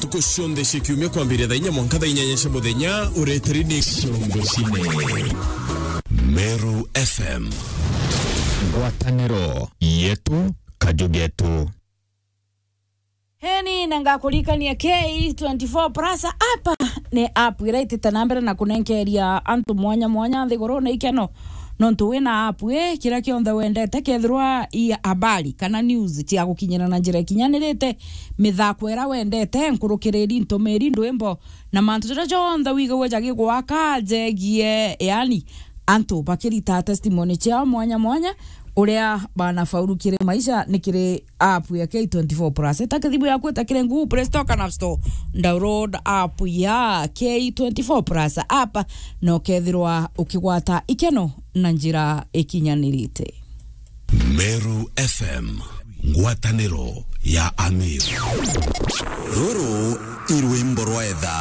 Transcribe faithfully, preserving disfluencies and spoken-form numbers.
Ntuku cionthe cia kiumia kwambiria thaa inya mwanka thaa inyanya cia muthenya, ureteri ni Ciongo Cine. Meru F M. Ngwataniro yetu, kaju getu. Heni, na ngakuririkania K twenty-four Plus app ni app iria itite na mbere na kunenkeria antu mwanya mwanya nthigurune ikeno. Nontu wina app ii, kiria kionthe wendete, kethirwa i habari kana news cia gukinyira na njira ikinyanirite, mithako iria wendete, nkurukiriri, ntumiri, ndwimbo, na mantu jaria jonthe wigagua jagigwaka jegie, yaani, antu bakirita testimony ciao mwanya mwanya, uria banafaulu kiri maisha ni kiri app ya K twenty-four Plus. Ita kithimu yaku, ita kiri Google Play Store kana App Store, download app ya K twenty-four Plus app, na ukethirwa ukigwata ikeno na njira ikinyanirite. Meru F M, ngwataniro ya Amiru. Ruru i rwimbo rwa etha.